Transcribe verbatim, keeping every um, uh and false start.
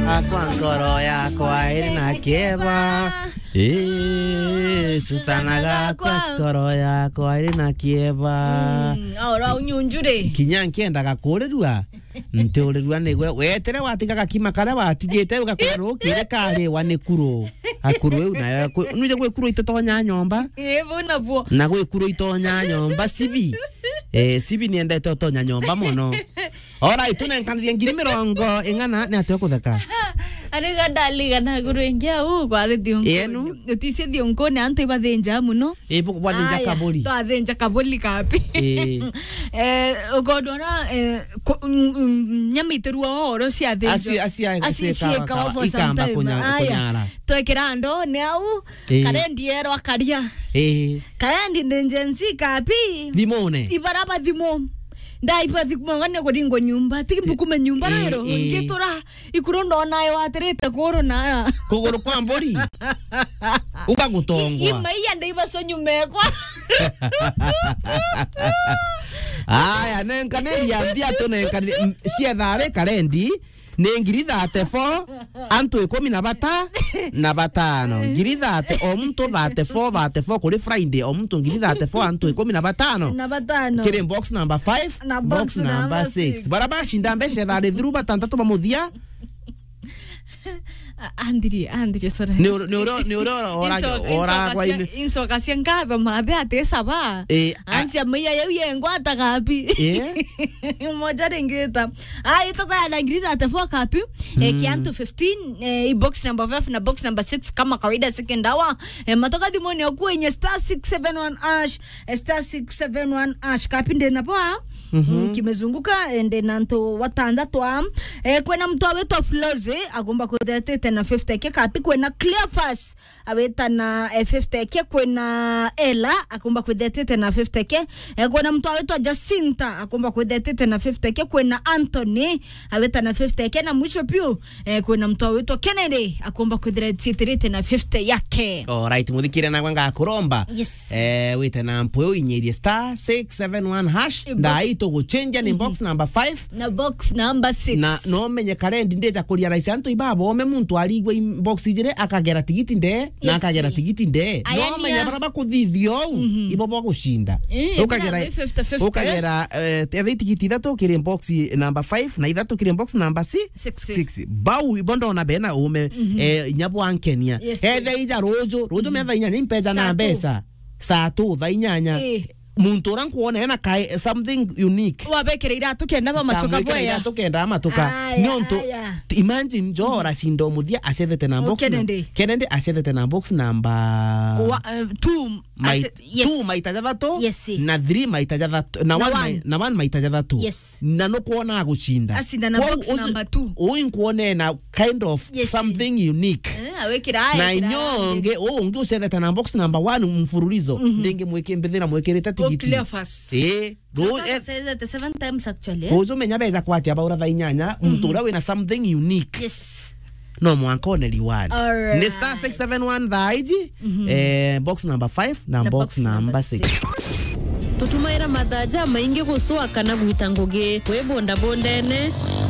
Akwa nkoro yakwa iri na kieba. Ii, Susana gakwa, nkoro yakwa iri na kieba. Mm, aura unyunjure. Kinya nkiendaga kurirua, ntiurirua nigwe. Wetire watiga gakima karia watigite, ugakora rukiri kariwa ni kuru. Akuru iu nayo, kwi-, nwije gwi kuru ititonya nyomba? Ii, bu nabuo. Na gwi kuru itonya nyomba, sibi. Eh, sibi niendete utonya nyomba mono. Alright, tunenkanirie ngiri mirongo ing'ana, ni atia ukutheka? Ariga ndaliga na guru ingi au, kwari thiunku. Yenu? Uticie thiunkune, antu ibathinja muno. Ii, bu-, bwathinja kaburi. Twathinja kaburi kapi. Ii. Eh, ukondo ora, eh, ku-, n-, n-, nyama itirua oro cia thinjo. Aci-, aci-, aci-, aci-, ciekawa ciekawa ka-, for some ikamba time. Kunya-, aya, kunyara. Twekira ndo ni au, ii, karendi erwa karia. Ii. Karendi ndi Gen Z kapi. Thimune. Ibaraba thimu. Ndaiba thimu ngane kuringo nyumba. Tiki mbukume nyumba. Ii, rero. Ii. Ngitura. Ikuru ndona yo atirite kuru na. Kuguru kwa mburi. Uga gutongwa. I-, imaiya ndaiba so nyumekwa. Aya, nenkaniria mbia tu nenkaniria, m-, ciethari karendi. Ni ngiri thirty-four, antu ikumi na bata-, na batano. Ngiri thirty, o muntu thirty-four, thirty-four kuri Friday, o muntu ngiri thirty-four, antu ikumi na batano. Na batano. Kiri box number five, na box number six. Bara bacinda mbeca thari thiru batantatu ba muthia. A-, andiri, andiri, sorry. Ni uri-, ni uri-, ni uri ora-, ora-, insoka, oragwa insoka cia, ine. Insoka cia ngatho mathe ati saba. Eh, a- Ansia maiya yau yengwa atagapi. Eh? Moja ringita. Ai, tuko ya ngiri thirty-four kapi. Eh, mm, kiantu fifteen, eh, i box number five na box number six kama kawaida second hour. Eh, matoka thimoni oku enye star six seven one hash, eh, star six seven one hash kapi ndi na poa. Mhm. Mm, kimezunguka, eh, ndi na antu watandatu a. Eh, kwena mtu awitwa Flozi, agomba kwithetete na fifty ke kapi kwena Cleophas, awita na, eh, fifty ke, kwina Ella, akumba kwithetete na fifty ke. Eh, kwina mtu awitwa Jacinta, akumba kwithetete na fifty ke, kwina Anthony, awita na fifty ke, na mwisho piu, eh, kwina mtu awitwa Kennedy, akumba kwithetete na fifty yake. Alright, muthikire nagwe ngakuromba. Yes. Eh, wite na mpu iu inyirie star six seven one hash. Box. Ndai tuguchenja ni, mhm, box number five. Na box number six. Na no menye karendi ndija kurealize antu ibabome muntu arigwe im-, box ijiri akagera tigiti nde, na, yes, akagera tigiti nde. Aya no menye bara bakuthithia ou, mhm, ibo bagucinda. Eh, ukagera, fifty fifty. Ukagera, eh, etha itigiti ithatu kiri box number five na ithatu kiri box number si-, six. Six. Bau ibo ndona bena ume, mhm, eh, inya bwankenia. Yes. Ethe ija ruju, ruju, mhm, metha inyanya impeja na mbeca. Saa tu, thaa inyanya. Eh. Muntu uria nkwona ena kae something unique. Wabekera iratu kenda bamacoka. Nkamwikira bwea. Iratu kenda amatuka. Aya, ni untu, aya, imagine Joe, mm, aracinda umuthia acethete na box na-, Kennedy. Kennedy acethete na box number wa-, eh, two, mai-, ase-, yes, two maita jathatu, yes, na three maita jathatu, na, na one, one mai-, na one maita jathatu. Yes. Na nukwona agucinda. Acinda na box number two. Kwou uyu, uyu nkwona ena kind of, yes, something unique. Eh, awikira, na awikira inyo ngi, ungi ucethete na box number one mfululizo, mhm, ndingi mwiki-, mbithira mwikirite tigiti. Cleophas. Eh, ru-, Cleophas eh, acethete seven times actually, eh? Ruju menya beja kwatia baura thaa inyanya, mhm, muntu uria wina something unique. Yes. No mwanka one reward. Alright. Ni star six seven one thaa iji, mhm, eh, box number five na, na box, box number, number six. Six. Tutumaira mathaa jamaingi gucua kana gwita ngugi wi bundabundene.